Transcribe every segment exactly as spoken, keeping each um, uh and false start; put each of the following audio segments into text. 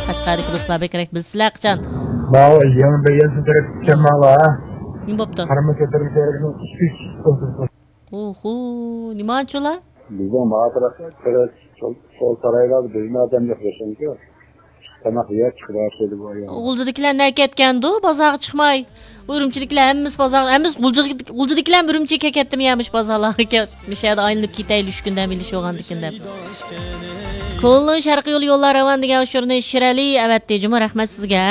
قەشقەردىكى دوستلار بەكرەك بىلسىلەر قاچان. ماۋۇ يېڭى بەيگەنسىن تەرەپ كەلمەڭلار، ھە؟ نېمە بوپتۇ؟ قارىمۇ كۆتۈرۈش يەرگىنىڭ ئىككى ئۈچ ئوتتۇز. ئوھو، نېمە ئانچىلا؟ بىزنىڭ ماۋۇ تەرەپ، تەرەپ سول، سول سارايلاردا بىزمۇ ئادەم يوق، بىلسەمكى. تاماق يەپ چىقىپ ئاشۇ بۇ ئايال. غۇلجىدىكىلەر نەگە كەتكەندۇ بازارغا چىقماي؟ بۇ ئۈرۈمچىدىكىلەر ھەممىسى بازار، ھەممىسى غۇلجىدىكى، غۇلجىدىكىلەرمۇ ئۈرۈمچىگە كەتتىمۇ يا مۇشۇ بازارلارغا كەپ، مۇشۇ يەردە ئايلىنىپ كېتەيلى، ئۈچ كۈن دەم ئېلىش بولغاندىكىن دەپ. كولدىن شەرقىي يول يوللار راۋان دېگەن ئۇچۇرنى شىرئەلى ئەۋەتتى جۇمۇ، رەھمەت سىزگە.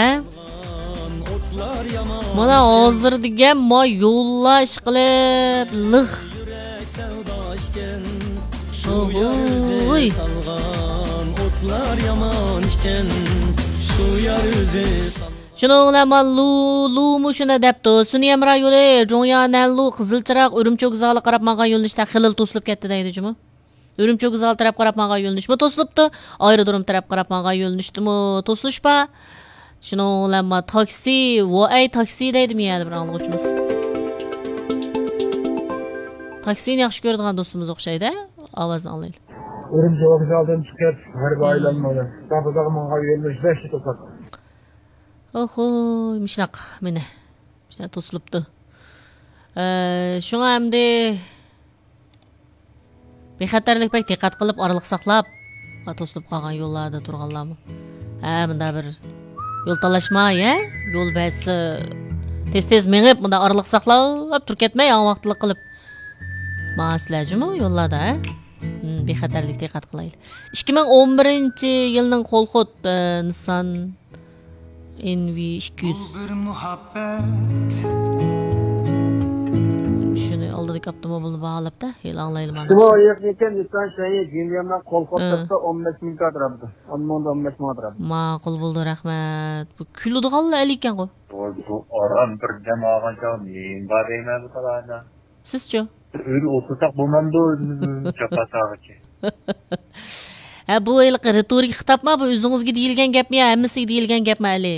مانا ھازىر دېگەن ما يوللار ئىشقىلىپ لىق. ئوھوي. شۇنىڭ بىلەن ما لۇ، لۇمۇ شۇنى دەپتۇ. سۈنئىي ھەمراھ يولى، جۇڭيا نەنلۇ، قىزىل چىراغ، ئۈرۈمچى ۋوگزالىغا قاراپ ماڭغان يۆنىلىشتە خېلىلا توسۇلۇپ كەتتى دەيدۇ جۇمۇ. ئۈرۈمچى ۋوگزالى تەرەپ قاراپ ماڭغان يۆنىلىشمۇ توسۇلۇپتۇ. ئايرودروم تەرەپ قاراپ ماڭغان يۆنىلىشتىمۇ توسۇلۇش بار. شۇنىڭ بىلەن ما تاكسى، ۋوئەي تاكسى دەيدۇ مۇ يەردە بىر ئاڭلىغۇچىمىز. تاكسىنى ياخشى كۆرىدىغان دوستىمىز ئوخشايدۇ. ئاۋازنى ئاڭلايلى. ئۈرۈمچى ۋوگزالدىن چىقىپ، غەربىي ئايلانمىنى، دابىداغا ماڭغان يۆنىلىش بەشتە توساتتى. ئوخۇي، مۇشۇنداق، مانا. مۇشۇنداق توسۇلۇپتۇ. ئە، شۇڭا ئەمدى بىخەتەرلىك بەك دىققەت قىلىپ، ئارىلىق ساقلاپ، ھە، توسۇلۇپ قالغان يوللاردا تۇرغانلارمۇ. ھە، مۇنداق بىر يول تالاشماي، ھە؟ يول بەزىسى تېز-تېز مېڭىپ، مۇنداق ئارىلىق ساقلاپ تۇرۇپ كەتمەي، ھاڭ ۋاقىتلىق قىلىپ ماڭاسىلەر جۇمۇ يوللاردا، ھە؟ ھىم، بىخەتەرلىك دىققەت قىلايلى. ئىككى مىڭ ئون بىرىنچى يىلنىڭ قول خود، ئە، نىسسان ئېن ۋى ئىككى يۈز. بۇ بىر مۇھەببەت. شۇنى ئالدىدىكى ئاپتوموبىلنى باھالاپ-تە، ھېلى ئاڭلايلى مانا. شۇمۇ يېقىن ئىكەن، نىسسان شەيئى جىنيەننىڭ قول خود ئە. سەپتە ئون بەش مىڭ ئەتراپىدا. ئون مىڭدىن ئون بەش مىڭ ئەتراپىدا. ماقۇل بولدى، رەھمەت. بۇ كۈلىدىغانلا ئەل ئىكەنغۇ. بۇ، بۇ ئاران بىر دەم ئالغان چاغ نېمە بار دەيمەن بۇ تالادا. سىزچۇ؟ ئۆيدە ئولتۇرساق بولمامدۇ، ئۆزىمىزنىڭ جاپا چاغىچە. ھە، بۇ ھېلىقى رېتورىكا خىتابما، بۇ ئۆزىڭىزگە دېيىلگەن گەپمۇ يا ھەممىسىگە دېيىلگەن گەپمۇ ئەلى؟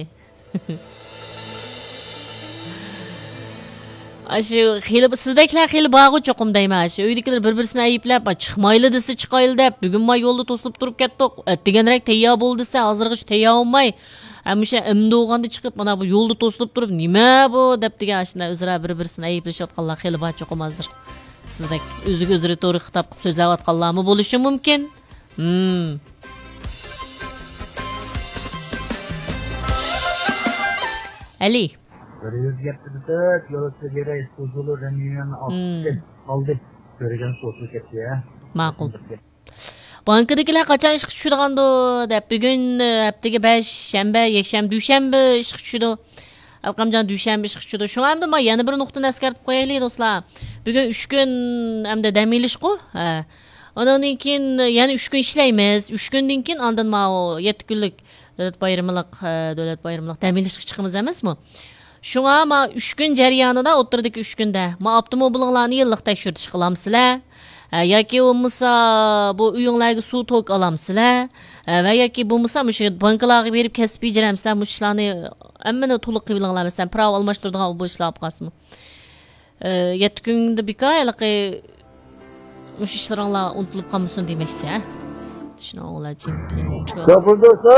ئاشۇ خېلى، سىزدەكلەر خېلى بارغۇ چوقۇم دەيمەن. ئاشۇ ئۆيدىكىلەر بىر-بىرسىنى ئەيىبلەپ، «چىقمايلى» دېسە چىقايلى دەپ، «بۈگۈن ما يولدا توسۇلۇپ تۇرۇپ كەتتۇق، ئەتىگەنرەك تەييار بول» دېسە، ھازىرغىچە تەييار بولماي، ھە، مۇشۇ ئەمدى بولغاندا چىقىپ، مانا بۇ يولدا توسۇلۇپ تۇرۇپ، «نېمە بۇ؟» دەپ دېگەن ئاشۇنداق ئۆزئارا بىر-بىرسىنى ئەيىبلىشىۋاتقانلار خېلى بار چوقۇم ھازىر. سىزدەك ئۆزىگە ئۆزى رېتورىكا خىتاب قىلىپ سۆزلەۋاتقانلارمۇ بولۇشى مۇمكىن. ھىم. ئەلى. بىر يۈز يەتتە دېسەك، يولۇچى بېرەي، سوزۇلۇ رەمىيەنى ھىم. ئالدى. كۆرگەن سوزۇلۇپ كەتتى، ھە؟ ماقۇل. بانكىدىكىلەر قاچان ئىشقا چۈشىدىغاندۇ دەپ، بۈگۈن، ھەپتىگە بەش، شەنبە، يەكشەنبە، دۈشەنبە ئىشقا چۈشىدۇ. ئەلقەمجان دۈشەنبە ئىشقا چۈشىدۇ. شۇڭا ئەمدى ما يەنە بىر نۇقتىنى ئەسكەرتىپ قويايلى، دوستلار. بۈگۈن ئۈچ كۈن ئەمدى دەم ئېلىشقۇ. ھە. ئۇنىڭدىن كېيىن يەنە ئۈچ كۈن ئىشلەيمىز. ئۈچ كۈندىن كېيىن ئاندىن ماۋۇ يەتتە كۈنلۈك دۆلەت بايرىملىق، ھە، دۆلەت بايرىملىق دەم ئېلىشقا چىقىمىز ئەمەسمۇ؟ شۇڭا ما ئۈچ كۈن جەريانىدا، ئوتتۇرىدىكى ئۈچ كۈندە ما ئاپتوموبىلىڭلارنى يىللىق تەكشۈرتۈش قىلامسىلەر؟ ھە، ياكى بولمىسا بۇ ئۆيۈڭلارغا سۇ توكى ئالامسىلەر؟ ھە، ۋە ياكى بولمىسا مۇشۇ بانكىلارغا بېرىپ كەسىپ بېجىرەمسىلەر؟ مۇشۇ ئىشلارنى ھەممىنى تولۇق قىلىۋېلىڭلار. مەسىلەن، پىراۋا ئالماشتۇرىدىغان بۇ ئىشلار بولۇپ قالسىمۇ. ئە، يەتتە كۈندە بىكار ھېلىقى مۇشۇ ئىشلىرىڭلار ئۇنتۇلۇپ قالمىسۇن دېمەكچى، ھە؟ شۇنىڭ بىلەن چىڭپىن چىقىپ. ياقۇلدۇسى!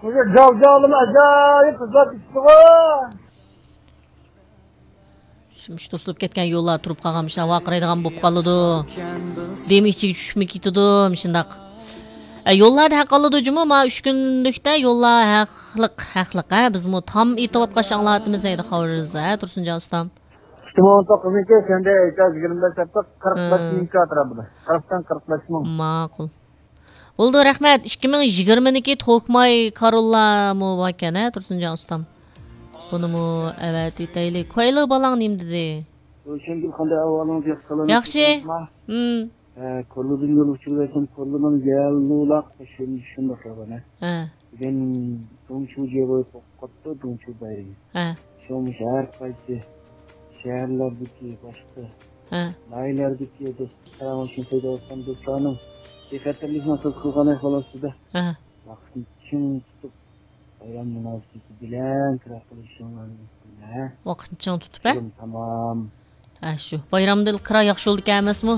بۇ جاۋجاۋلىما ئاجايىپ قىزلار كېتىپتىغۇ! مۇشۇ توسۇلۇپ كەتكەن يوللار تۇرۇپ قالغان مۇشۇنداق ۋارقىرايدىغان بولۇپ قالىدۇ. دېمى ئىچىگە چۈشۈپمۇ كېتىدۇ مۇشۇنداق. ئە، يوللاردا ھەق ئالىدۇ جۇمۇ، ما ئۈچ كۈنلۈكتە يوللار ھەقلىق، ھەقلىق، ھە، بىزمۇ تام ئېيتىۋاتقاچ ئاڭلاۋاتىمىز دەيدۇ خەۋىرىمىزدە، ھە، تۇرسۇنجان ئۇستام. ئىككى مىڭ ئون توققۇزنىڭكى سەندە ئېيتار يىگىرمە بەش ھەپتە قىرىق بەش مىڭ ئەتراپىدا. قىرىقتىن قىرىق بەش مىڭ. ماقۇل. بولدى، رەھمەت. ئىككى مىڭ يىگىرمىنىڭكى توكماي كاروللارمۇ باركەن، ھە، تۇرسۇنجان ئۇستام. بۇنىمۇ ئەۋەتىۋېتەيلى. كۇەيلى بالاڭ نېمە دېدى؟ روشەنگۈل، قانداق ئەھۋالىڭىز؟ ياخشى قالامسىز؟ ياخشى. ھىم. ھە، كوللىدىن يول ئۇچۇرۇۋەتسەم، كوللىنىڭ يەللۇلاق شۇنداق. ھە. بۈگۈن دۇڭچۇ جياۋۇي قوپۇپ قاپتۇ، دۇڭچۇ بايرىمى. ھە. شۇڭا مۇشۇ ھەر قايسى شەھەرلەردىكى، باشقا ھە. ناھىيەلەردىكى دوستلار پاراڭلىشىپ سۆزلەۋاتقان دوستلارنىڭ بىخەتەرلىكنى ھاسىل قىلغان ئەھۋال ئاستىدا ھە. ۋاقىتنى چىڭ تۇتۇپ، بايرام مۇناسىۋىتى بىلەن كىرا قىلىشىڭلارنى ئۈمىد قىلىمەن. ۋاقىتنى چىڭ تۇتۇپ، ھە؟ تامام. ھە، شۇ. بايرامدا كىرا ياخشى يولدىكەن ئەمەسمۇ؟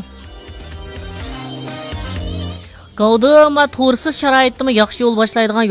گاۋدىما تورسىز شارائىتتىمۇ ياخشى يول باشلايدىغان